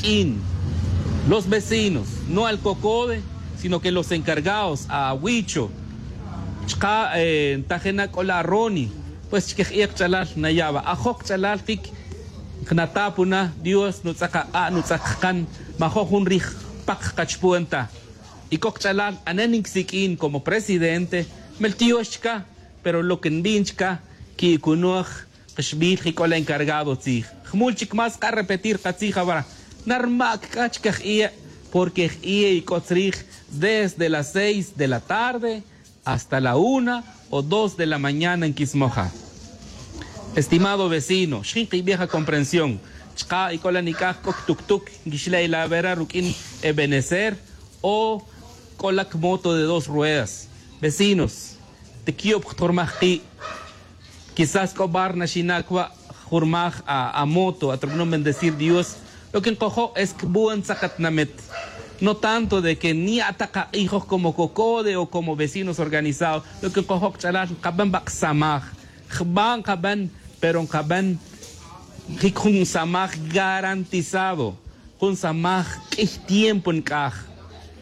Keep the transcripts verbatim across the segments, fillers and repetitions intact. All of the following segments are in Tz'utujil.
q'in, los vecinos, no al cocode, sino que los encargados, awicho, chka' tajena k'ola aroni. Pues chike j'i'e kach'alal nayaba ajoj kach'alal jik, jnatapuna dios nutz'ak ak'a' nutz'ak jkan, majo' jun rij jpak kachupuan ta. Y k'o kach'alal anen nkisik'in como presidente, mel tiox chka. Pero lo que nbin chka ki'kunoj, kaxbil jik k'ola encargado tzij. Jmul chik más karepetir katzij abra, narma' k'a chka j'i'e. Porque j'i'e y k'o tzrij desde las seis de la tarde hasta la una o dos de la mañana nkismoja. Estimado vecino, xjin kibij akomprensión. Chka' y k'ola nik'aj k'o ktuktuk nkixle'y la vera ruk'in ebenecer o k'ola kmoto de dos ruedas. Vecinos, tikiyub jtjurmaj ki'. Quizás k'o bar naxina' cua' jurmaj amoto atrub'anom bendecir dios. Lo que nkojo' es cbuen tzakatnamit. No tanto de que nya' ta kak'ijoj como cocode o como vecinos organizados. Lo que nkojo' kach'alal nkaben ba' ksamaj. Jba' nkaben, pero nkaben jic jun samaj garantizado. Jun samaj q'uiy tiempo nc'aj.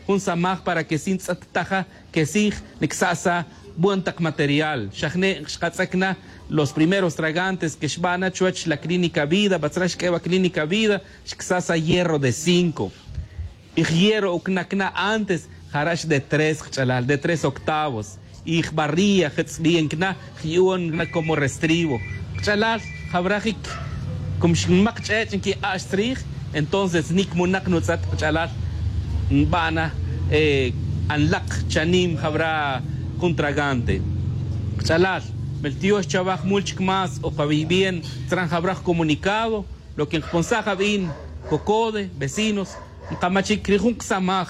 Jun samaj para que si ntz'et taja que si ncsa'sa buen tak material. Xajne' xkatz'ec na los primeros tragantes que xba' na chuwech la clínica vida batzra xq'ue' wa clínica vida. Xcsa'sa hierro de cinco. Y hierro ucnac na antes jara' xde tres kach'alal de tres octavos. Y jbarría jetz'biye ncna, jyu'on ncna como restribo. Kach'alal jawra jic. Como xnmak ch'ech' nquik'ax tzrij. Entonces nic munak nutz'et kach'alal nba'na anlak chanim jawra jun tragante. Kach'alal, mel tiox chawa jmul chic más o kawi' bien. Tzran jawra jcomunicado. Lo que nkponsaj abin cocode vecinos, nkamachic ri jun ksamaj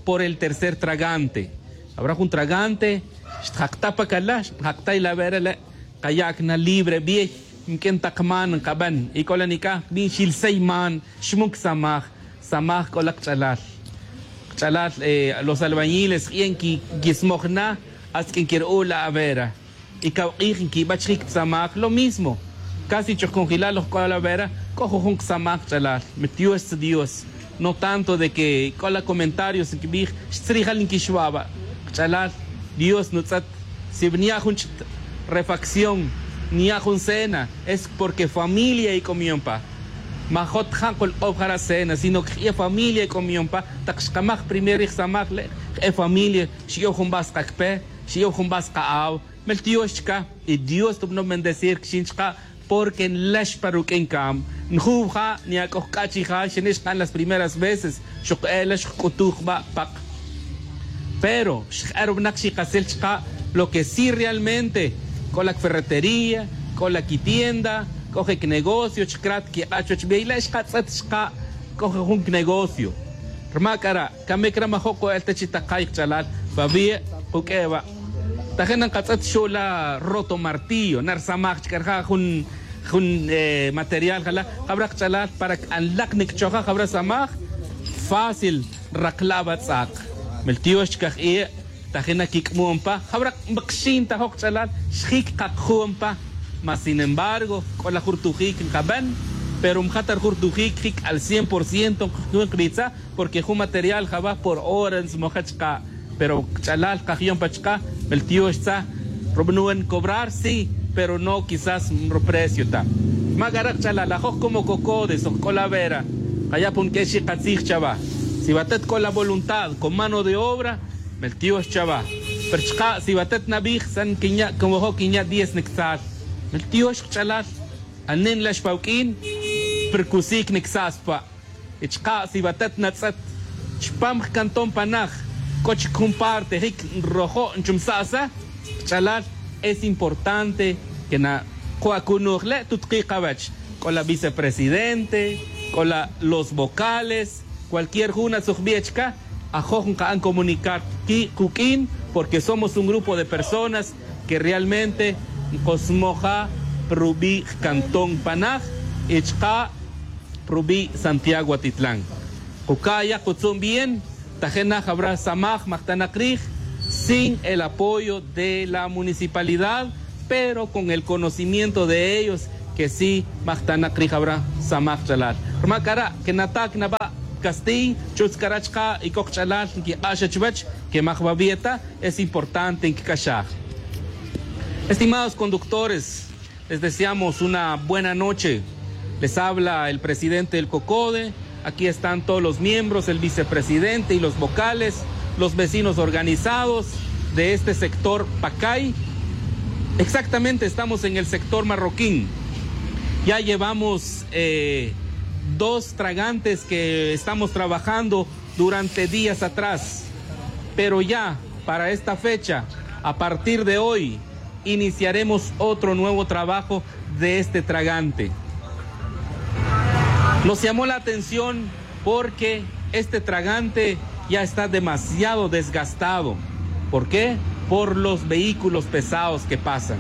por el tercer tragante. Abra jun tragante xtjakta pa cala xtjakta y la vera le' kayac na libre biey. Nq'uin tak man nkaben y c'o la nic'aj bin xilsey man xmun ksamaj. Samaj c'o la kch'alal. Kch'alal los albañiles k'ie' nquismoj na. Hasta que nquir'u' la avera y cawk'ij nquibach jic ksamaj lo mismo. Casi choj conjilal loj c'o la vera. C'o jujun ksamaj kch'alal mitiox dios. No tanto de que c'o la comentarios nquibij xtzrijal nquixwaba'. Kch'alal dios nutz'et. Si nya' jun ch'it refacción nya' jun cena es porque familia ic'omion pa. Majot ja' nkulk'ow jara' cena sino que je' familia ic'omion pa. Tak xkamaj primer rij samaj le' je' familia xi'ow jun ba' skakpe xi'ow jun ba' ska'aw. Mel tiox chka y dios tubnom bendecir kxin chka'. Porque nlex pa ruq'uin cam njuw ja' nya' c'o jc'a' chi ja' xene' xka'n las primeras veces. Xok'e' la xkc'utuj jba' pak. Pero xk'e' ruwnak xikasil chka' lo que si realmente c'o la ferretería c'o la quitienda c'o je' cnegocio chkrat quik'a' chuwech bey le' xkatz'et chka'. C'o je' jun cnegocio rma c'ara' camic ra majo' co'el ta chi takay kch'alal. Pawi' kuq'ue' wa' taje' na nkatz'et xu' la roto martillo na rsamaj chk'a rija' jun jun material jala' jawra kch'alal para c'anlak nicchojaj jawra samaj. Fácil nrakla' wa tz'ak. Mel tiox chka jie' taje' na quic'mon pa jawra. Nkxin ta jok kch'alal xjic kakjun pa. Mas sin embargo c'o la jurtujic nkaben pero mja ta rjurtujic jic al cien por ciento nkjun kbitza. Porque jun material jaba por hora ntzmoja chka'. Pero kch'alal kajiyon pa chka' mel tiox tza. Rubnuen cobrar si pero no quizás ruprecio ta. Ma c'ara' kch'alal ajoj como cocodes oj c'o la vera kaya' pon q'uexi katzij chawa. Si watet c'o la voluntad con mano de obra mel tiox chawa. Pero chka' si watet nabij san quinya' como jo' quinya' diez nictzal. Mel tiox kch'alal anen la xpawq'uin. Percusic nicsa'spa. Y chka' si watet natz'et chpam jcanton panaj c'o chic jun parte jic nrojo' nchumsa'sa. Kch'alal es importante que naku'acunuj le' tutkik kawech. C'o la vicepresidente c'o la los vocales cualquier jun atzujbi' chka. Ajoj nka'an comunicar ki' kuq'uin porque somos un grupo de personas que realmente nkosmoja pa rubi' jcanton panaj. Y chka' pa rubi' santiago atitlan. Kuca'ya kutzun bien. Taje' na jawra samaj majtanak rij sin el apoyo de la municipalidad pero con el conocimiento de ellos. que sí majtanak rij awra samaj ch'alal. Rma c'ara' que nata' que naba' castiy chutz c'ara' chka' y c'o kach'alal nquik'ax chuwech que maj wawia ta, es importante nquic'axaj. Estimados conductores, les deseamos una buena noche. Les habla el presidente del COCODE. Aquí están todos los miembros, el vicepresidente y los vocales, los vecinos organizados de este sector Pacay. Exactamente, estamos en el sector Marroquín. Ya llevamos eh, dos tragantes que estamos trabajando durante días atrás, pero ya para esta fecha, a partir de hoy, iniciaremos otro nuevo trabajo de este tragante. Nos llamó la atención porque este tragante ya está demasiado desgastado. ¿Por qué? Por los vehículos pesados que pasan.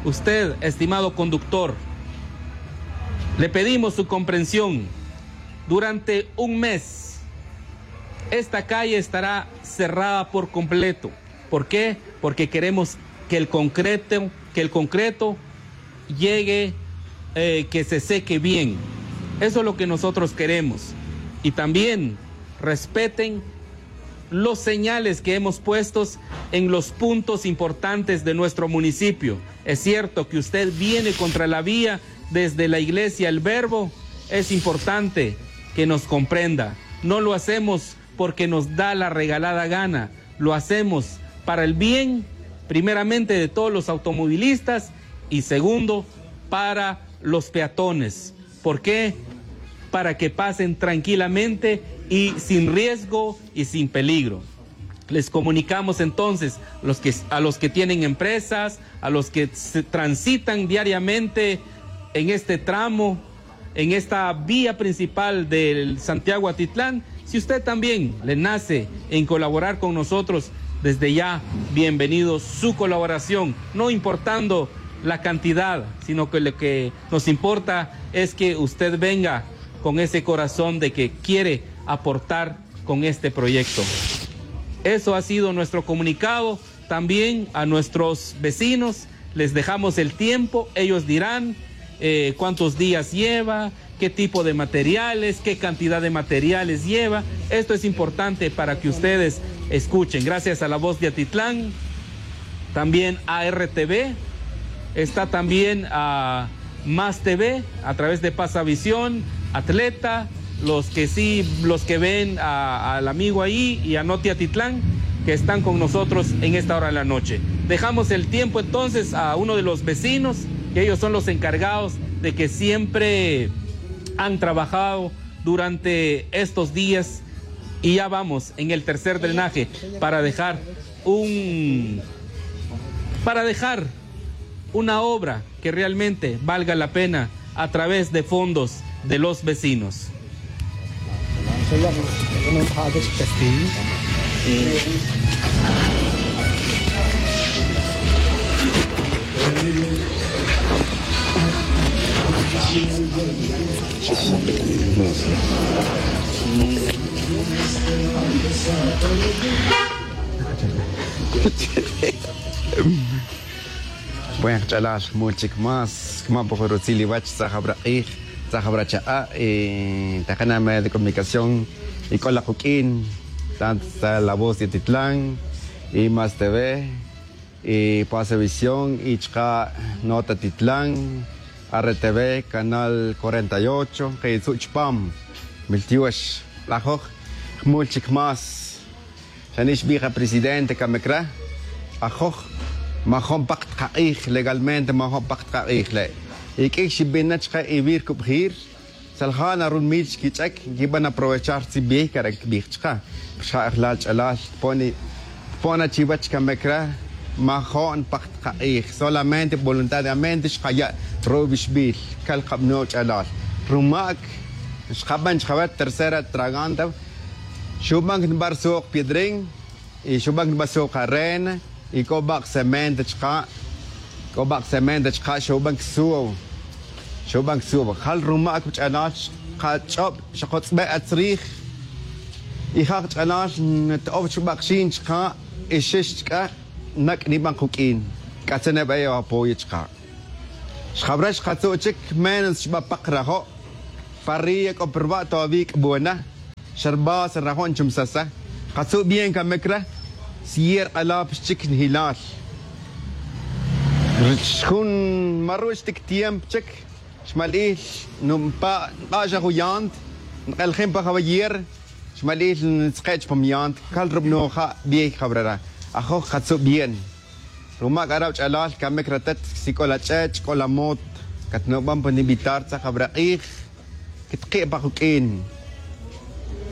Usted, estimado conductor, le pedimos su comprensión. Durante un mes, esta calle estará cerrada por completo. ¿Por qué? Porque queremos que el concreto, que el concreto llegue, eh, que se seque bien. Eso es lo que nosotros queremos. Y también respeten los señales que hemos puesto en los puntos importantes de nuestro municipio. Es cierto que usted viene contra la vía desde la iglesia El Verbo, es importante que nos comprenda. No lo hacemos porque nos da la regalada gana. Lo hacemos para el bien, primeramente, de todos los automovilistas y, segundo, para los peatones. ¿Por qué? Para que pasen tranquilamente y sin riesgo y sin peligro. Les comunicamos entonces los que, a los que tienen empresas, a los que se transitan diariamente en este tramo, en esta vía principal del Santiago Atitlán. Si usted también le nace en colaborar con nosotros, desde ya, bienvenido su colaboración, no importando la cantidad, sino que lo que nos importa es que usted venga con ese corazón de que quiere aportar con este proyecto. Eso ha sido nuestro comunicado. También a nuestros vecinos les dejamos el tiempo, ellos dirán eh, cuántos días lleva, qué tipo de materiales, qué cantidad de materiales lleva. Esto es importante para que ustedes escuchen. Gracias a La Voz de Atitlán, también a R T V, está también a Más T V, a través de Pasavisión, Atleta, los que sí, los que ven a, al amigo ahí y a Noti Atitlán, que están con nosotros en esta hora de la noche. Dejamos el tiempo entonces a uno de los vecinos, que ellos son los encargados de que siempre han trabajado durante estos días, y ya vamos en el tercer drenaje para dejar un, para dejar una obra que realmente valga la pena a través de fondos de los vecinos. Bueno, kach'alal, jmul chic más, cama pa jun rutzil iwach, tzaj awra k'ij, tzaj awra chak'a', y taqana' medio de comunicación, y c'o la kuq'uin, tanto está La Voz de Atitlán, y Más T V, y Pasavisión, y chaka' Noti Atitlán, R T V, Canal cuarenta y ocho, que yitzu' chupam, miltiox, lajoj, jmul chic más. Xa nix xbij a presidente camic re, ajoj, majo'n pak ta kak'ij, legalmente majo'n pak ta kak'ij le'. Y q'uiy xibin na chake iwir cubjir, xal ja' na runmil xquich'ec, nquiban aprovechar tzibij, cara' quibij chake. Xa ejlal ch'alal, tpon, tpon na chiwech camic re, majo'n pak ta kak'ij, solamente voluntariamente xkaya' ruwixbil, cal kabanon ch'alal. Rumac, xkaban chkawech tercera tragante, xuban cnibar suuk piedrín, y xuban cnibar suuk arena, y c'o bak' cemento chka', c'o bak' cemento chka', xuban csuw, xuban csuw. Jal rumac wach'alal, kach'ob xakotz'be' atzrij, y ja' kach'alal nto'ow chubak' xin chka', y xix chka', nac' niban kuq'uin, c'atza nebe' apoyo chka'. Xjabra xkatzu' chic menos xba pak rajo'. Pa ria c'o pa ruba' toaví c'bona. Xa rbasa rajo' nchumsasa. Katzu' bien camic ra. Sier k'alap xchic njilal. Rich jun maru' xtic tiempo chic. Xmal'il npa' nk'ax ajuyant. Nk'eljin pa jawayer. Xmal'il ntzke' chupam yant cal rubno ja' bien jabrara. Ajoj katzu' bien. Ruma' c'ara' wach'alal camic ratet si c'o la ch'ech' c'o la mot. Catno'ban pa nibitar tzaj jabra k'ij. Quitki' pa kuq'uin.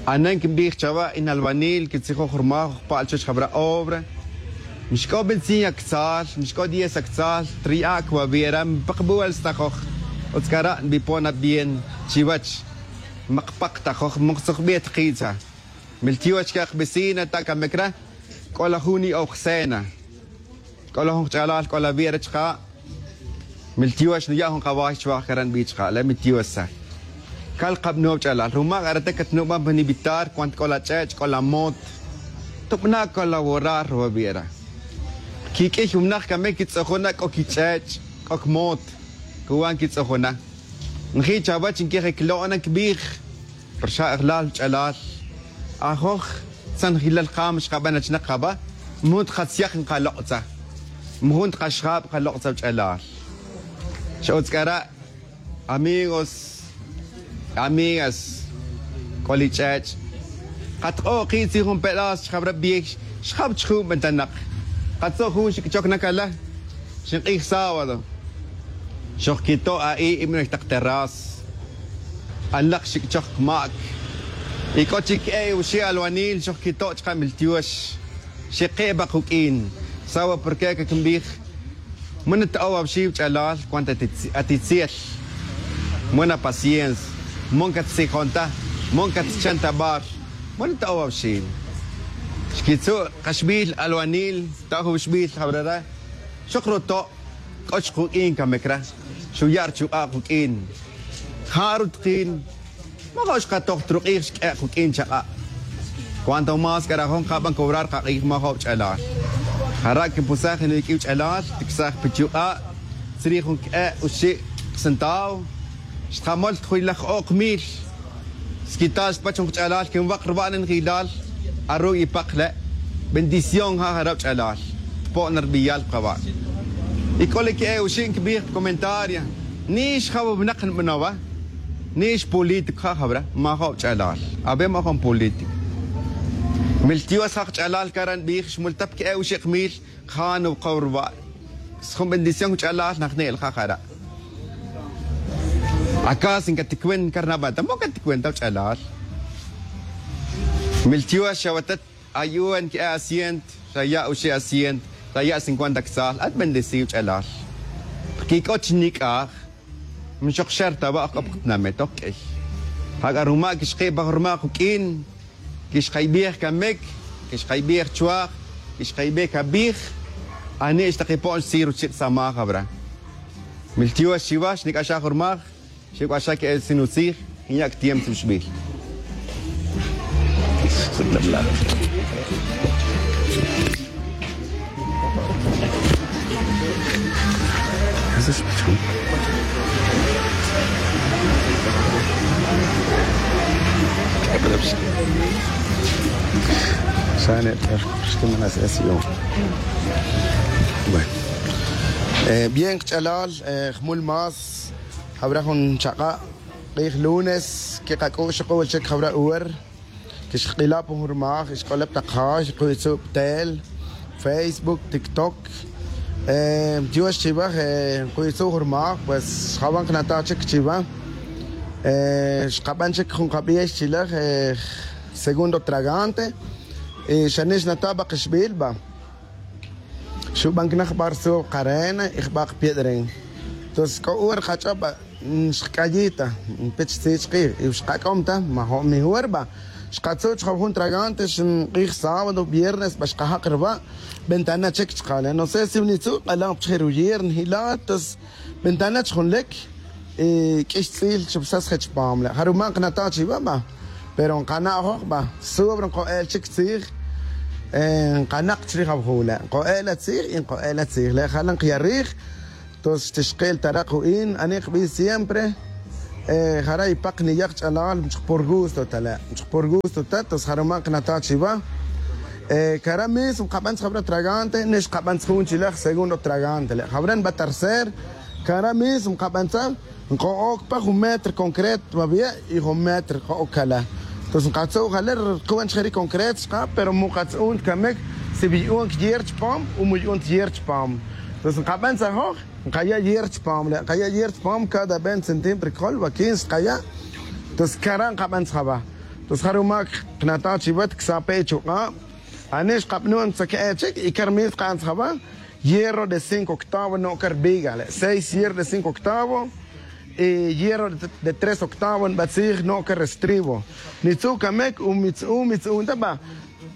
Anen quinbij chawa' in albanil quitzijoj ruma' jojpa'l chuwech jabra obra. Mixc'o veinticinco actzal mixc'o diez actzal. Triya' cwawi'ra mipakbuwel stajoj. Utz c'ara' nbipon abien chiwech. Makpak tajoj moktzojbi' tki'tza. Miltiox c'a kavecina ta camic ra. C'o la jun ni'ow jcena. C'o la jun kach'alal c'o la wi' re chaka'. Miltiox nuya' jun kaway chuwaj cara' nbi chaka' le miltioxa. Cal kabanow ch'alal ruma' c'arate catno'ban pa nibitar cuant c'o la ch'ech' c'o la mot. Tobana' colaborar ruwa' wi' re. Quiq'uiy jumnak camic quitz'ujuna c'o quich'ech' c'o quimot. Cuwan quitz'ujuna. Nji' chawech nqueje clo'na nquibij. Rxa'ejlal wach'alal. Ajoj tzanjilal kam xkaban achinak kaba. Mujun tkatzyak nkalok'tza. Mujun tkaxjab kalok'tza wach'alal. Xa utz c'ara'. Amigos, amigas, c'o li ch'ech'. Katk'o' ki' tzin jun pedazo chjabra biey. Xjab chjun bentanak. Katzo' jun xic' choc na cala. Xink'ij sábado. Xojquito' a'i' ibi noy tak terraz. Anlak xic' choc mac. Y c'o chic que'e oxi' alwanil xojquito' chka' miltiox. Xic' ke' pa kuq'uin. Sawa porqué caquinbij. Muna ta ow awxi' wach'alal cuant atitziel. Muna paciencia. Mon catzijon ta. Mon catchan ta bar. Muna ta ow awxi'. Xquitzu' kaxbil alwanil. Ta jun xbil jabrara. Xok ruto'. C'o chkuq'uin camic ra. Xuya' rchuk'a' kuq'uin. Ja' rutkin. Majo' xkatoj ta ruk'ij xq'ue' kuq'uin chaka'. Cuanto más c'arajon kaban cobrar kak'ij majo' wach'alal. Jara' quinpusaj jun iq'ui wach'alal ticsaj pichuk'a'. Tzrij jun q'ue' oxi' centavo. Xtkamol ta jun ilaj o'k mil. Squital xpach jun kach'alal quinwak ruba' nenjilal. Aru' ipak le'. Bendición ja' jara' wach'alal. Tpo'n rbiyal pa kawa'. Y c'o li que'e oxi' nquibij pa comentario. Nix ja' wa winak nbanowa. Nix político ja' jabra majo' wach'alal. Awe majo' npolítico. Miltiox ja' kach'alal cara' nbij xmultap que'e oxi' kmil. Ja' nuwakaw ruwa'. Sjun bendición wach'alal najne'l ja' jara'. Acá sin caticuenta carnaval ta mo caticuenta wach'alal. Miltiox xa watat. Ayu'an que'e asiento. Xa ya' oxi' asiento. Xa ya' cincuenta ctzal at bendecido ch'alal. Quic'o chi nic'aj. Mixok xer ta wa' ojc'o pa katinamit oj q'uiy. Jac'a ruma' quixki' pa jun ruma' kuq'uin. Quixkaybij camic. Quixkaybij chuaj. Quixkaybij cabij. Ani' xtakipo'n xtzij ruchi' samaj abra. Miltiox chiwa xnic'axaj jun rumaj. Xic'axaj que'el sin utzij. Nya' ctiempo tzibixbil. Bien kach'alal jmul más. Jawra jun chaka' k'ij lunes quikac'u' xuk'ul chic jawra uwer. Quixkila' pa jun rumaj xk'olep tak ja' xkuytzu' pa tel, facebook, tiktok. Tiox chiwa. Nkuytzu' jun rumaj pues xjawan kanataj chic chiwa. Xkaban chic jun kabiey chilaj segundo tragante. Y xani' xnataj pa kixbil ba. Xuban cana jba' rtzuj karena y jba' kapiedren. Entonces c'o uwer kach'ob ba. Xkac'ayij ta npich tzij chkij y xkac'om ta majo' mi uwer ba. Xkatzu' chka jun tragante xnk'ij sábado viernes ba xkajak ruba'. Ventana chic chka le no sé si nitzu' k'alan pa chijir uyer njila' entonces ventana chjun lec. Y q'uix tz'il chupsas je chupam le' jaruma' nkanataj chiwa ba. Pero nkana'joj ba sobre nko'el chic tzij. Nkanak' chrij awajul le' nko'el atzij y nko'el atzij le' jala' nkiyarij. Entonces xtixkil ta rak' u in anik kbi siempre. Jara' ipak niyak ch'alal mchuk por gusto ta le' mchuk por gusto ta tos jaruma' kanataj chiwa. Kara' mismo kaban tzajabra tragante nix kaban tzajun chilaj segundo tragante le' jabra nba tercer. Kara' mismo kaban tzaj nko'ok pa jun metro concreto mabiya' y jun metro ko'ok kala. Tos nkatzu' jale' rkuwan chijeri concreto xka pero mu katz'un tkamek si biyu'un tyer chpam u mu yu'un tyer chpam. Tos nkaban tzajoj nkaya' yer chpam le' nkaya' yer chpam cada veinte centímetro kol va quince xkaya'. Tos kara' nkaban tzajaba. Tos jaruma' knataj chiwa tksape' chuk'a'. Ani xkabnu'an tzaka'e' chik y kar min tzaka'an tzajaba. Hierro de cinco octavo no' kar viga le' seis hierro de cinco octavo. Y hierro de tres octavo nbatzij no' kar restrivo. Nitzu' kamek u mitzu' mitzu'un ta ba.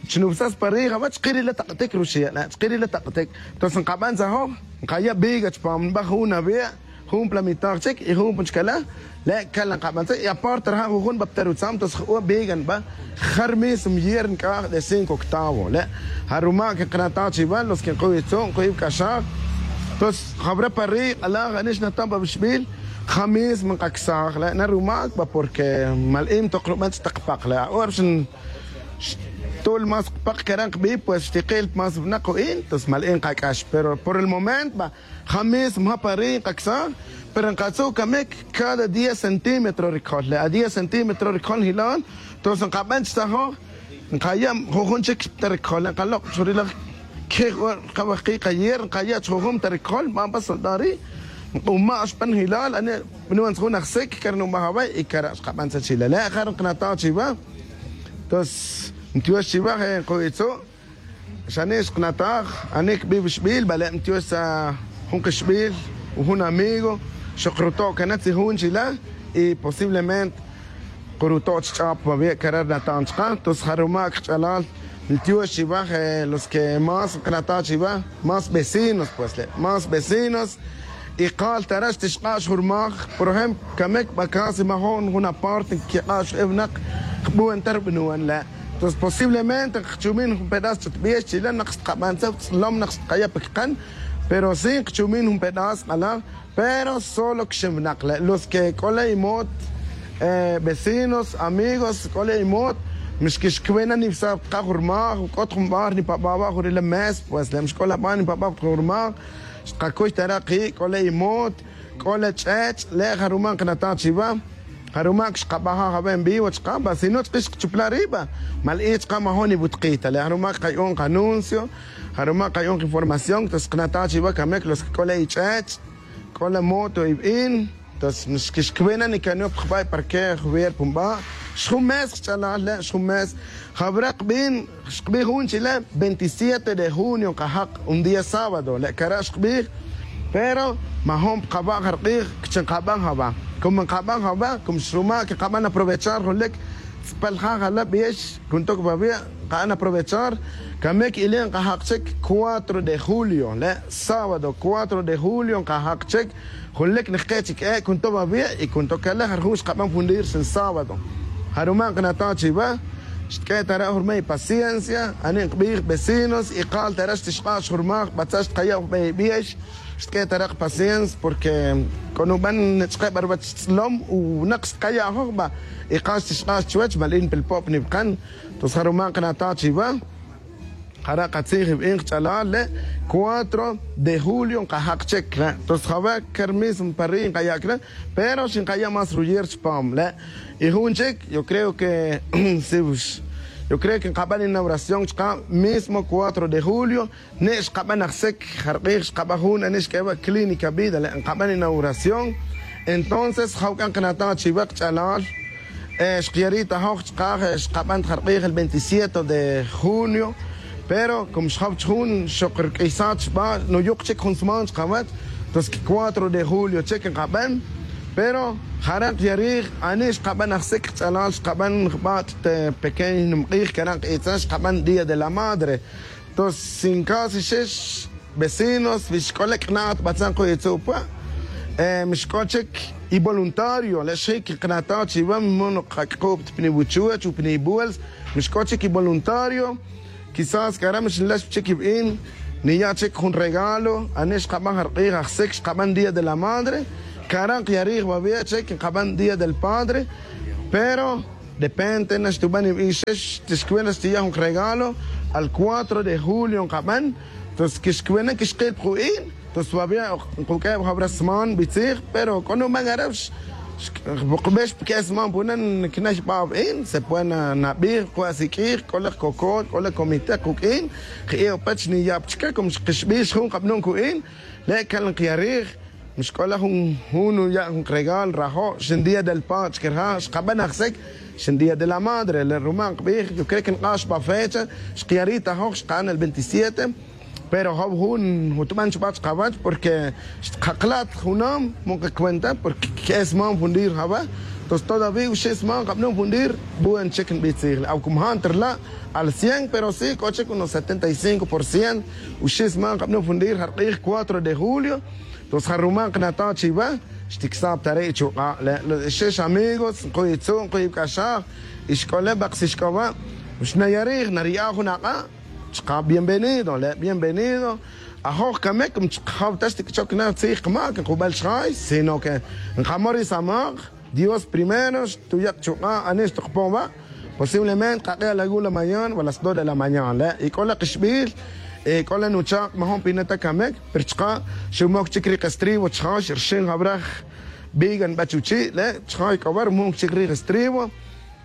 Chnubsas pa rij awach chkirila tak'tik ruxi' chkirila tak'tik. Tos nkaban tzajoj nkaya' viga chpam nba jun awi'. Jun pla mitaj chik y jun pun chkala'. Le' kala' nkaban tzaj y aparte raja' jujun nba pta rutzam tos juk'u' viga nba. Jar mismo hierro nk'aj de cinco octavo le'. Jaruma' que nkanataj chiwa los que nkuy itzu' nkuy iwk'axaj. Tos jabra pa rij k'alaj ani xnatan pa wixbil. Ja mismo nkaksaj le' na rumak ba porque mal'in toq ruban ch'tak pak le' ahora xin xtul más pak kara' nkbi pues xtikil más winak u in tos mal'in nkak'ax pero por el momento ba. Ja mismo ja pa ri' nkaksaj. Pero nkatzu' kamik cada diez centímetro rikol le' a diez centímetro rikol njilon. Tos nkaban chtzajoj nkaya' jujun chik ta rikol le' nkalok' churila' kej ora rkawajki' kayer nkaya' chjujun ta rikol nban pa soldado ri'. Nk'uma' xpan njilal ani' bnuwan tzujun ajsik kar nubaj away y kara' xkaban tzaj chila' le' ja ri nkanataj chiwa. Tos ntiox chiwa je' nkuy itzu'. Xani' xkanataj ani' kbi wixbil bale' ntiox tzaj jun kixbil. Jun amigo xoq ruto' kana' tzijun chila' y posiblemente kuruto' chch'ap mawi' kara' ri natan chka tos ja rumak kach'alal. Ntiox chiwa los que más nkanataj chiwa más vecinos pues le' más vecinos. Y kal tara' xtixk'ax jun rmaj por ejemplo kamik ba casi majo'n jun aparte nkik'ax jun e winak. Kbu'an ta rub'nuwan le' tos posiblemente nkachumin jun pedazo ch'utb'ix chila' naq xtqab'an tzaj tz'lom naq xtqaya' pa kiqan. Pero si nkachumin jun pedazo k'alaj pero solo kixin winak le' los que k'o le' imot vecinos amigos k'o le' imot. Mixkixkwe na nib'saj tqaj jun rmaj k'ot jun b'ar nipab'a' wa' jun ri le' mes pues le' mixk'o la b'ar nipab'a' jun rmaj. Xtqakuy ta re' ki' k'o le' imot k'o le' ch'ech' le' jaruma' nqanataj chiwa. Jaruma' xqab'ajaj awe' en vivo chqan va si no chqix xqachupla' ri' va. Mal i chqan majo'n iwutqij ta le' jaruma' qayu'un qanuncio. Jaruma' qayu'un qinformación tos xqanataj chiwa kamik los que k'o le' ich'ech' k'o le' moto ib'in. Tos xkixkwe na nikanop jb'a' parque juwer pun b'a'. Xjun mes xch'alal le' xjun mes. Jawra' qb'in xqb'ij jun chila' veintisiete de junio nqajaq un día sábado le' kara' xqb'ij. Pero majo'n pqawa' jarq'ij kchi nqab'an jawa'. Como nqab'an jawa' como xruma' que nqab'an aprovechar jun lik tz'pal ja' jala' b'ix. Kuntok bawi' nqa'an aprovechar. Kamik ili' nqajaq chik cuatro de julio le' sábado cuatro de julio nqajaq chik. Jun lik nqk'e' chik e' kuntok bawi' y kuntok kale' jarjun xqab'an fundir rixin sábado. Jaruma' nqanataj chiwa xtk'e' ta re' jun rma' ipaciencia ani' nqb'ij vecinos y kal ta re' xtixq'ax jun rmaj b'atzaj xtqaya' jun b'ey b'ix. Xtk'e' ta re' qpaciencia porque k'o nub'an chke' b'a ruwach tz'lom u winak xtqaya' ajoj b'a. Y kal xtixq'ax chuwech mal in pilpob' nib'qan. Tos jaruma' nqanataj chiwa. Jare' qatzij ib'in qach'alal le' cuatro de julio nqajaq chik le' tos jawe' ker mismo pa ri' nqaya' kre'. Pero xinqaya' más ruyer chpam le'. Y jun chik yo creo que si yo creo que nqab'an inauguración chqab' mismo cuatro de julio. Ne' xqab'an ajsik jarq'ij xqab'an jun ani' xk'e wa' clínica vida le' nqab'an inauguración. Entonces jaw k'a nqanataj chiwa qach'alal. Xqya ri' ta joj chqaj xqab'an ta jarq'ij el veintisiete de junio. Pero como xjaw chjun xoq rk'isat xb'a' nuyuq chik jun sman chqawach. Tos que cuatro de julio chik nqab'an. Pero jare' nqya rij ani' xqab'an ajsik qach'alal xqab'an jb'a' ta pequeño nimq'ij kare' nq'itzan xqab'an día de la madre. Tos sin caso xix vecinos wi xk'o le' k'nat b'atzan ku itzu' pwa'. Mixk'o chik ivoluntario le' xjik nqanataj chiwa mimo'n qak'k'ub' ta pni wuchuwech u pni ibuels. Mixk'o chik ivoluntario. Kisas k'ara' mixinlax chik ib'in. Niya' chic jun regalo. Ani xkaban jark'ij ajsic xkaban día de la madre. Cara' nkiyarij babiya' chic nkaban día del padre. Pero depende na xtuban nibixex tixcuena xtiya' jun regalo. Al cuatro de julio nkaban. Entonces quixcuena quixkil pa ju'in. Entonces babiya' nkuq'ueb jabra sman bitzij. Pero c'o nuban ara' xkbex pa que'e sman puna nicnay ba'bin se puede nabij cuasiq'uij c'o lek cocot c'o lek comite kuq'uin. Je'e' pach niya' pa chique como xkixbij xjun kabnun cu'in. Le' cal nkiyarij. Mixc'ola jun jun nuya' jun regalo rajo' xin día del padre chquirja' xkaban ajsic. Xin día de la madre le' ruma' nkbij yo creo que nk'ax ba fecha. Xkiyari' tajoj xka'n el veintisiete. Pero jaw jun jutban chuba' chkawach porque xkaklat junam munka cuenta porque que'e sman fundir jawa'. Entonces todavía uxi' sman kabnun fundir. Buen chic nbitzij le' awcum ja' ntrla' al cien pero si c'o chic unos setenta y cinco por ciento. Uxi' sman kabnun fundir jark'ij cuatro de julio. Entonces jaruma' nknata' chiwa. Xticsab tare' ichuk'a' le' xix amigos nkuy itzu' nkuy ic'axaj. Y xc'ole' bak si xc'oba' xnayarij nariya' jun ak'a'. Chka bienvenido le' bienvenido. Ajoj came como chkajaw ta xtic'choc na tzij kamac nkubel xjay sino que nkamor ri samak. Dios primero xtuya' kachuk'a' ani xtukpon wa'. Posiblemente kak'e' a la una la mañana o a las dos de la mañana le' y c'o la kixbil. C'o la nuchak' majun pina ta camic pero chka' xumoc chic ri kestribo chka' xrxin jawra. Biga nba chuchi' le' chka' y c'o wa' rumoc chic ri kestribo.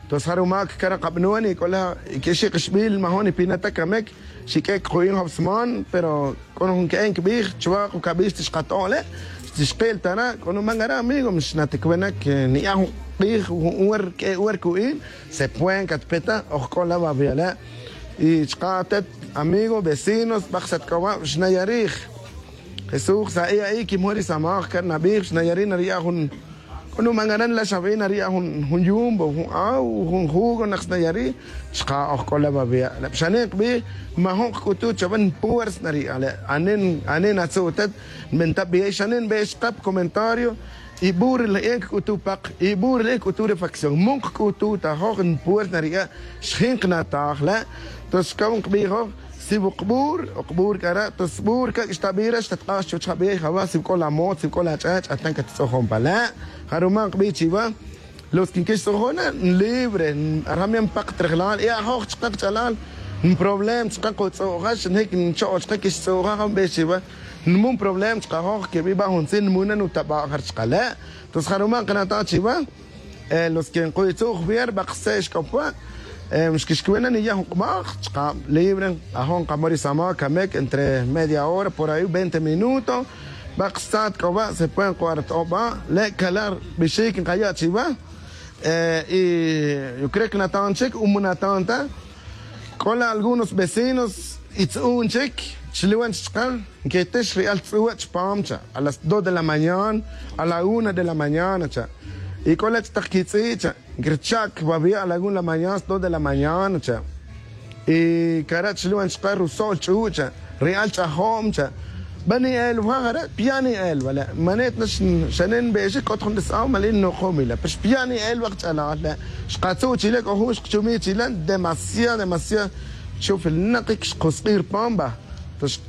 Entonces ja rumac cara' kabnun y c'o la quexi' kixbil majun nipina ta camic. Xiq'ue' cuku'in jawsman pero c'o na jun que'en quibij chuwa' kucabix tixkato'on le'. Xtixkil tara' c'o numan ara' amigo mixnaticuenac. Niya' jun k'ij jun wer q'ue' wer cu'in se pueden catpeta ojc'ola babiya' le'. Y chka' atet amigo vecinos bak satc'oba' xnayarij. Jesús sa'i a'i quimon ri samaj cara' nabij xnayarij nariya' jun. C'o numan ara' nla xabi' nariya' jun yumbo jun aw jun jugo nak snayari'. Chka' ojc'ola babiya' le' xanin kbij. Majun kc'utu' chawe npuersa nariya' le' ani natzu' utet. Nbenta' biye' xanin nbe'ex chka' pa comentario. Y bur ri le'en cc'utu' pak y bur ri le'en cc'utu' refacción mun cc'utu' tajoj npuersa nariya'. Xjin knataj le'. Entonces xcaw nkbijoj si wukbur ukbur cara' ta sbur ca'c xtabi re xtatk'ax chuwech jabi jawa' si wuk'o la mot si wuk'o la ch'ech atan cattz'ujon pa le'. Ja rumal nkbi chiwa los que nquixtz'ujon na nlibre. Rjam ya npak trejlal y ajoj chka kach'alal nproblema chka kutz'u'ja xnjic ncho'o chka quixtz'u'ja ja nbix chiwa. Nmun problema chkajoj quebi ba juntzin nmun na nutaba' ja chka le'. Entonces ja rumal nkana' ta chiwa. Los que nkuy tzu' juvier bak se' xc'opa'. Xquixcuwi' na niya' jun k'maj chka' libre ajoj nkamo ri samaj camic entre media hora por ahi veinte minutos. Bak sat c'o wa' se puede nk'oar ta oba le' cala' bixic nkaya' chiwa. Y yo creo que natan chic umu natan ta. C'o la algunos vecinos itz'un chic chliwan chka' nquitix ri'al tz'u' chpam cha' a las dos de la mañana a la una de la mañana cha'. Y c'o la chtak quitz'i' cha' nquircha'c babiya' a la una de la mañana a las dos de la mañana cha'. Y cara' chliwan chka' ruso'l ch'u' cha' ri'al ch'ajom cha'. Ba ni'el wa jare' piya' ni'el wa le' manit na xanin nbe'exic c'ot jun res'aw mali' nnukom ila pero xpiya' ni'el wa kach'alal le'. Xkatzu' chile c'o jun xkchumi chile demasiado demasiado. Chufil nakic xkusk'i' rpam ba. Entonces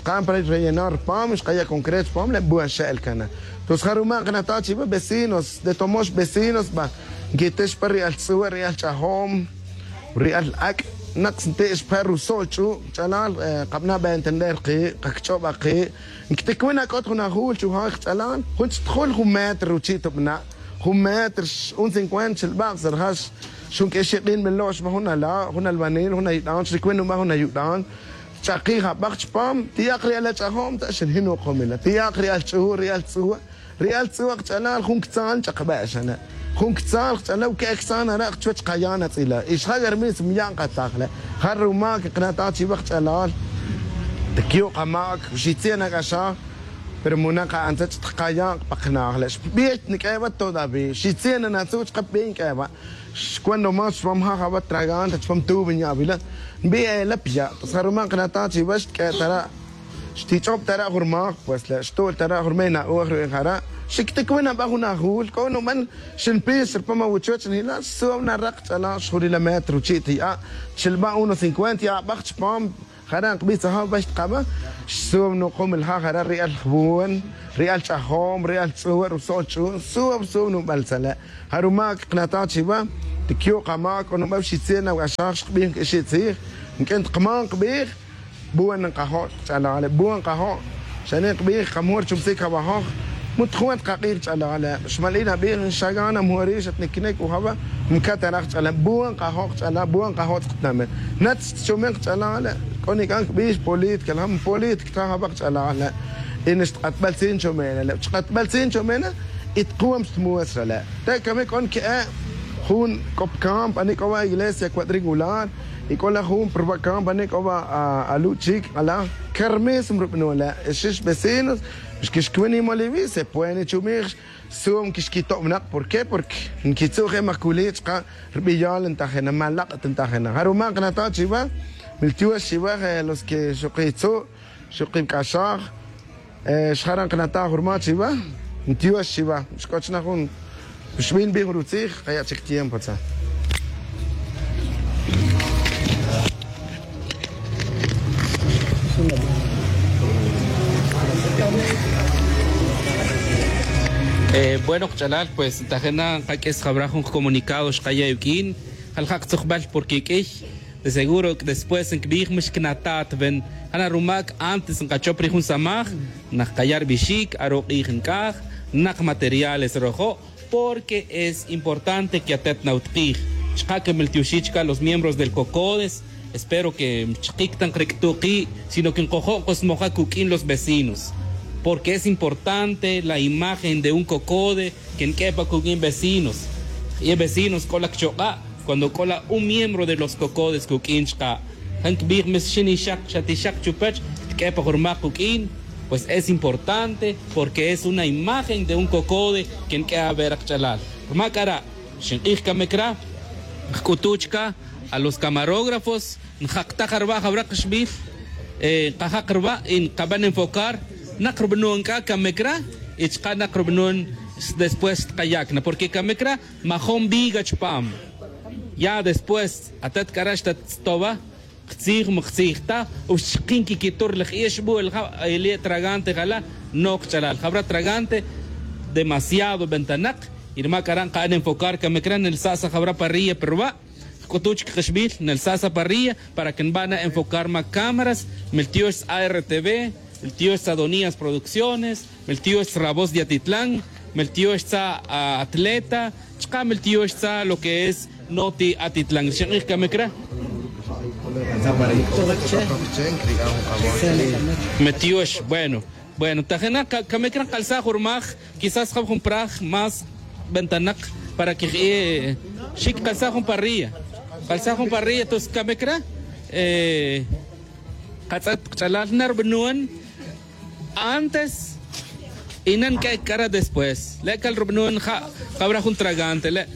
xka'n pa rellenar rpam xkaya' concreto rpam le' buen xe'el cana. Entonces ja rumal nkana' ta chiwa vecinos de tomox vecinos ba. Nquitix pa ri'al tz'u' ri'al ch'ajom ri'al ac' nak snti' xpe ruso'l ch'u' ch'alal. Kabana' bentender ki' kakch'ob aki'. Nquiticuwi' na c'ot jun ajul chujay kach'alal jun chtajul jun metro ruchi' tubana'. Jun metro un cincuenta chilba' sa rajax. Xun q'uexi' k'in nbelo' xba jun ala' jun albanil jun ayudan xricuwi' nuba' jun ayudan. Ch'akij abak chpam ti'ak ri'al ach'ajom ta' xinjin nukomila ti'ak ri'al ch'u' ri'al tz'u'. Ri'al tz'u' kach'alal jun ctzal ch'akbe' xane'. Jun ctzal kach'alal uke' ctzal nara' chuwech kaya' natz'ila' y xja' c'a rimis mya' nkataj le'. Ja rumal quikana' ta chiwa kach'alal. Tiqyu' kamac xitzie' nac'axaj. Pero munak a'an tzet xtkaya' pa knaj le' xbij niq'ue' wa todavía xitzie' nanatzu' chka pbij niq'ue' wa. Cuando más xpam ja' ja wa tragan ta chpam tubi nya'wila. Nbij ela piya' pues ja rumal nkana' ta chiwa xtq'ue' tara'. Xtich'ob tara' jun rmak pues le' xtu'l tara' jun rmey na'uj ru'in jara'. Xicticuwi' naba jun ajul c'o nuban xinpix rpam awuchuwech nila' xsu'ab na rak ch'ala' xjurila metro ruchi' tiya'. Chilba' uno cincuenta ya' abak chpam. Jara' nkbij tzajab pa xtqaba'. Xsuum nuqum el ja' jara' ri'al jbun, ri'al ch'ajom, ri'al tz'uwa' ruso'l ch'u'un, suum suum nubal tzale'. Ja rumak knataj chiwa. Tikyu' qama' k'o nubal xitziel nawa'xaj xqbij nk'ixi' tzij. Nk'en tqman qbij. Buen nkajo' ch'alale', buen nkajo'. Xane' nkbij kamor chumtzik awajoj. Mut jun at qaq'ij ch'alale', xmal'in abij nxagan amori' xatniknek ujaba'. Mkataraj ch'alale', buen nkajo' ch'alale', buen nkajo' tzqtnamel. Natz tchumen ch'alale'. K'o nik'an kbij política la, política ta jaba' ch'alale'. Y nix tq'atbal tzin chumena le, chq'atbal tzin chumena. Y tkuwam xtmuestra le. Te' kame k'o nke'e' jun k'o pkamp ani k'o wa' iglesia cuadrangular. Y k'o la jun prba' kamp ani k'o wa' alu' chik ala. Kermesem rub'nun le, xix vecinos. Xkixkwin imoliwi se puede chumij. Suum kixkitob'naq, ¿por qué? Porque nkitzu' je' majkuli' chqa' rb'iyal ntajena, malaq' ta ntajena. Ja rumak nata' chiwa. Miltiox chiwa los que xuqi tzu', xuqi nk'axaj. Xjaran qnata' jurma chiwa. Miltiox chiwa. Xk'o chna jun xb'in b'ij rutzij, qaya' chik tiempo tza. Bueno, qach'alal, pues ntajin na nqak'is jawra jun qacomunicado xqaya' wik'in. Jaljaq tzujbal porque k'iy de seguro después nkbij mix knata't ven. Jana' rumak antes nqachop ri jun samaj, naq qaya' rbixik, aro' q'ij nk'aj, naq materiales rojo'. Porque es importante que atet nawtq'ij. Chqa' que miltioxi chka' los miembros del COCODES. Espero que mchqik ta nqrik'tu' qi', sino que nqojo' nqosmoja kuk'in los vecinos. Porque es importante la imagen de un COCODE que nk'e' pa kuk'in vecinos. Y vecinos k'o la kchoq'a' cuando k'o la un miembro de los COCODES kuk'in chka'. Ja nkbij mes xin ixaq xa ti xaq chupech tk'e' pa jurmak kuk'in. Pues es importante porque es una imagen de un COCODE que nk'e' aver qach'alal. Rma k'ara' xink'ij kame cra, nk'utu' chka a los camarógrafos, njaqtaj arwa' jawra qxbil. Nqajaq rwa' y nqaban enfocar naq rb'nun k'a kame cra y chqa' naq rb'nun después xtqaya' cna, porque kame cra majom viga chpam. Ya después atet k'ara' xtattz'towa qtzij ma qtzij ta, o xchqin kikitur laj ixb'u el ja' eli' tragante jala'. No qach'alal, jawra tragante demasiado ventanaq. Y rma k'ara' nqa'an enfocar kame cra nelsa' sa jawra parrilla pa rwa'. Jk'utu' chik qxbil nelsa' sa parrilla para que nb'ana enfocar ma cámaras. Miltiox sa ARTV, miltiox sa Donías Producciones, miltiox sa La Voz de Atitlán, miltiox sa Atleta, chqa' miltiox sa lo que es Noti Atitlán. Xink'ij kame cra. Miltiox, bueno. Bueno, tajin na kame cra nkalsaj jurmaj, quizás jab jun praj más ventanaq para que xik kalsaj jun parrilla. Kalsaj jun parrilla, entonces kame cra. Qatz'et qach'alal na rb'nun antes y na nk'ek' k'ara' después. Le' kal rb'nun ja' jawra jun tragante le'.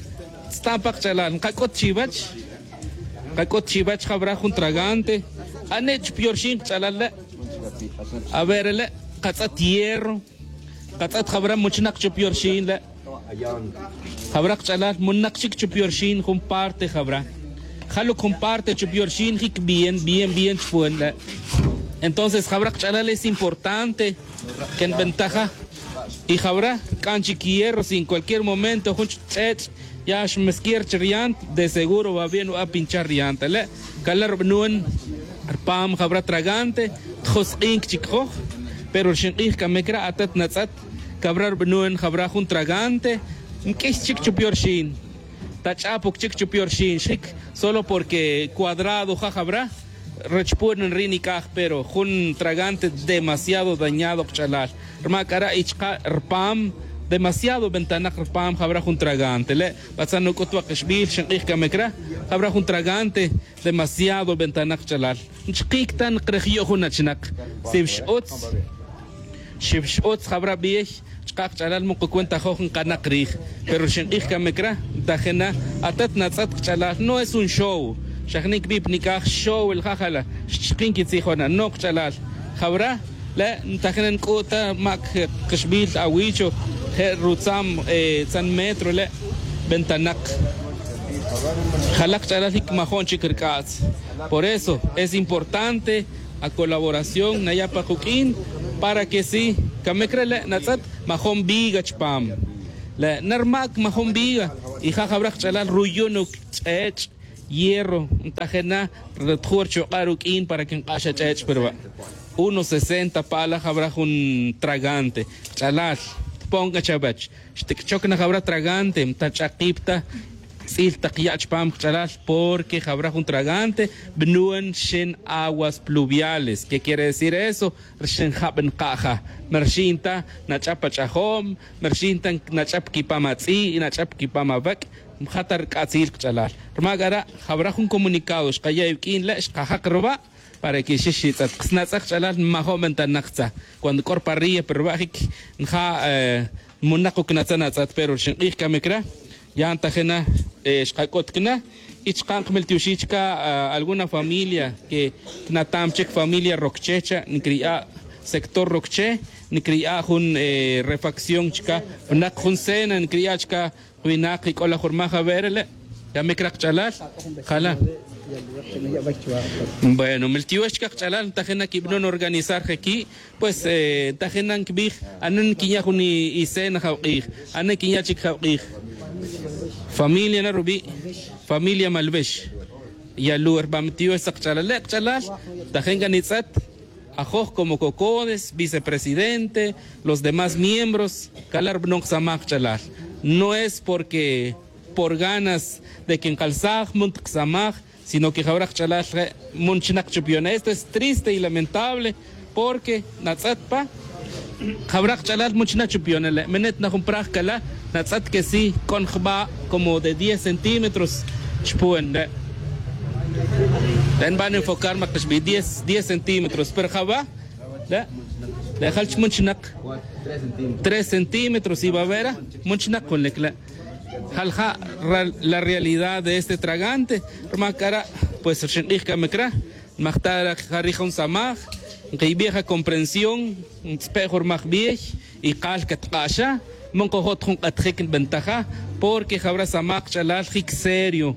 Tz'tan pa qach'alal, nqak'ut chiwech. Nqak'ut chiwech jawra jun tragante. Ani' chupyorxin qach'alal le'. A ver, le' qatz'et hierro. Qatz'et jawra muchnaq chupyorxin le'. Jawra qach'alal munak chik chupyorxin jun parte jawra. Jaluk jun parte chupyorxin jik bien bien bien chpun le'. Entonces jawra qach'alal es importante que nbentaja. Y jawra rk'an chik hierro, si en cualquier momento jun ch'ech' ya xmeskier chi riant, de seguro va bien va pinchar riant le'. Kala' rb'nun rpam jawra tragante. Tjosq'in chik joj. Pero xink'ij kame cra atet natz'et. Cawra rb'nun jawra jun tragante. Nk'ix chik chupyorxin. Ta ch'apoc chik chupyorxin xjik solo porque cuadrado ja jawra. Rech pun nri' nik'aj pero jun tragante demasiado dañado qach'alal. Rma k'ara' y chka' rpam demasiado ventanaq rpam jawra jun tragante le'. Batzan nuk'ut wa' qixbil xink'ij kame cra. Jawra jun tragante demasiado ventanaq qach'alal. Nchqik ta nqrejyu' jun achnak. Siwix utz. Xiwix utz jawra b'ey. Chka' qach'alal muqu cuenta joj nqanak rij. Pero xink'ij kame cra. Ntajin na atet natz'et qach'alal no es un show. Xa jnik' b'ip nik'aj show el jajala xchqin kitzijon na no qach'alal. Jawra le' ntajin na nk'u' ta mak qixbil awicho je' rutzam tzan metro le'. Ventanaq. Jalak ch'alal ic majo'n chic rc'atz. Por eso es importante acolaboración naya' pa kuq'uin para que si camic re le' natz'et majo'n viga chupam. Le' narmac majo'n viga y ja' jawra kach'alal ruyunuc ch'ech' hierro ntajena rtju' rchuk'a' ruq'uin para que nk'ax ach'ech' pa ruwa'. Uno sesenta pa'ala jawra jun tragante kach'alal tpon k'a chawech. Xtic'choc na jawra tragante mtach'akip ta tz'il tak ya' chupam kach'alal. Porque jawra jun tragante bnun rxin aguas pluviales. Qué quiere decir eso? Rxin jab nka'ja. Merxi'in ta nach'ap ach'ajo'm, merxi'in ta nach'ap quipam atz'i' y nach'ap quipam awec'. Mja ta rc'atzil kach'alal. Rma c'ara' jawra jun comunicado xkaya' iwq'uin le' xkajak ruwa'. Para que xix itz'et kanatz'aj ch'alal nmajo' ventanak tza. Cuando c'o rparrilla pa ruwa' jic nja' munak ucnatzan atz'et pero rxin k'ij camic ra. Ya ntajena xkac'ut cana. Y chka' nkmiltioxij chka' alguna familia que cnatam chic familia rocche cha' ncriya' sector rocche ncriya' jun refacción chka' vnak jun cena ncriya' chka' winak y c'o laj jurmaj awe' re le'. Camic ra kach'alal. Jala. Bueno miltiox chka' kach'alal ntajena quibnon organizar je qui'. Pues ntajena nquibij anen nquinya' jun icena jawk'ij. Anen nquinya' chic jawk'ij. Familia na rubi'. Familia malwex. Yalu' rba' miltiox sa' kach'alal le' kach'alal. Ntajen c'a nitz'et ajoj como cocodes vicepresidente los demás miembros. Cala' rbanon ksamaj kach'alal. No es porque por ganas de que nkalsaj mun ta ksamaj. Sino que jawra kach'alal je' mun chnak chupyon esto es triste y lamentable. Porque natz'et pa jawra kach'alal mun chnak chupyon le' menet na jun praj cala' natz'et que si c'o njba' como de diez centímetros. Chupon re' re' nban enfocar mak xbi diez centímetros pero jawa' le' jal chmun chnak tres centímetros y wawera mun chnak jun lic le'. Jal ja' la realidad de este tragante. Rma c'a ra' pues rxin k'ij camic ra. Nmajta' ra ja rij jun samaj nkiybi' ja comprensión. Ntz'pe' jun rmaj bey y kal catk'axa. Mun kojot jun k'atjic nbentaja. Porque jawra samaj kach'alal jic serio.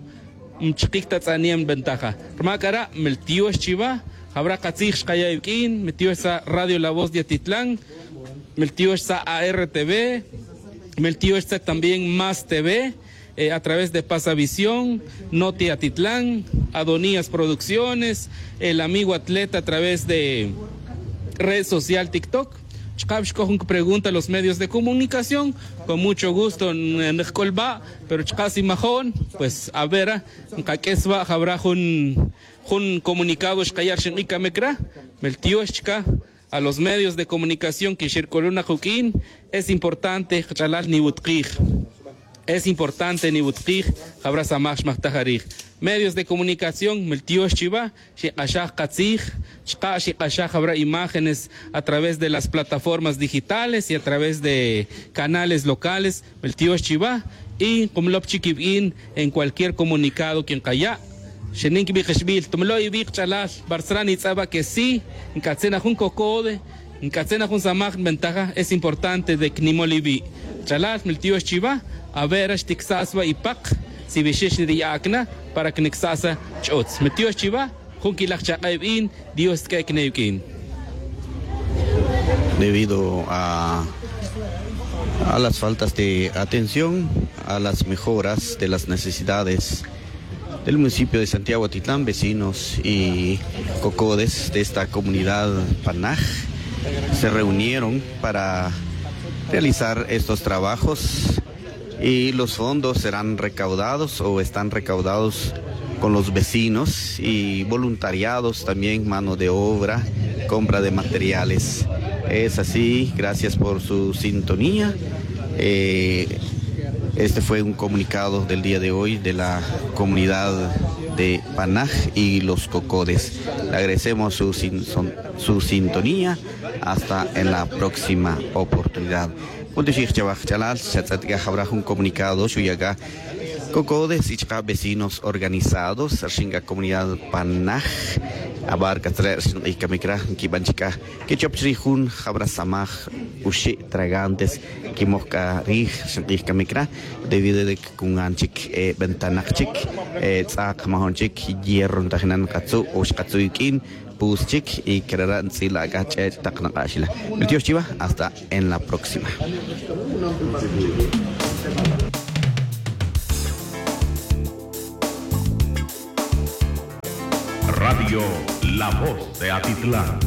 Mchikic ta tz'aniem nbentaja. Rma c'a ra' miltiox chiwa. Jawra katzij xkaya' iwq'uin miltiox sa' radio la voz de atitlan. Miltiox sa' artv. Miltiox sa' también más tv a través de pasavisión, noti atitlán, adonías producciones, el amigo atleta a través de red social tiktok. Chkab xk'o jun kipregunta los medios de comunicación. Con mucho gusto nijk'ulba'. Pero chka' si majo'n pues avera nkak'es wa' jawra jun jun comunicado xkaya' rxin k'ij camic ra. Miltiox chka' a los medios de comunicación que xirk'ulun na kuq'uin. Es importante kach'alal niwutkij. Es importante niwutkij. Jawra samaj xmajtaj arij medios de comunicación miltiox chiwa. Xik'axaj katzij chka' xik'axaj jawra imágenes a través de las plataformas digitales y a través de canales locales. Miltiox chiwa y nkumlop chic iwin en cualquier comunicado que nkaya'. Xenin quibij kixbil tumlo' iwi' kach'alal. Bartzra' nitz'aba que si nk'atzin a jun cocode nk'atzin a jun samaj nbentaja es importante de que nimol iwi'. Kach'alal miltiox chiwa. Avera xticsa'sa wa ipak si wixix nriya' acna para que nicsa'sa ch'utz miltiox chiwa. Jun quilaj chak'a' iwin. Dios tz'eq'uin. Debido a a las faltas de atención a las mejoras de las necesidades del municipio de Santiago Atitlán, vecinos y cocodes de esta comunidad Panaj se reunieron para realizar estos trabajos y los fondos serán recaudados o están recaudados con los vecinos y voluntariados también, mano de obra, compra de materiales. Es así, gracias por su sintonía. Este fue un comunicado del día de hoy de la comunidad de Panaj y los Cocodes. Le agradecemos su sintonía. Hasta en la próxima oportunidad. Junto xij chawaj ch'alal xatz'et k'a jawra jun comunicado xuya' k'a Cocodes y chaka' vecinos organizados rxin c'a comunidad panaj. Abarcas re' rxin k'ij camic ra nquiban chic c'a quechop chri' jun jabra samaj uxi' tragantes quimoj c'a rij rxin k'ij camic ra. Debido de que cungan chic bentanak chic tz'ak majun chic hierro ntajinan katzu' o xkatzu' iq'uin. Pus chic y crara' ntz'ila' c'a ch'ech' tak nak'ax ila. Ri tiox chiva hasta en la próxima. Radio La Voz de Atitlán.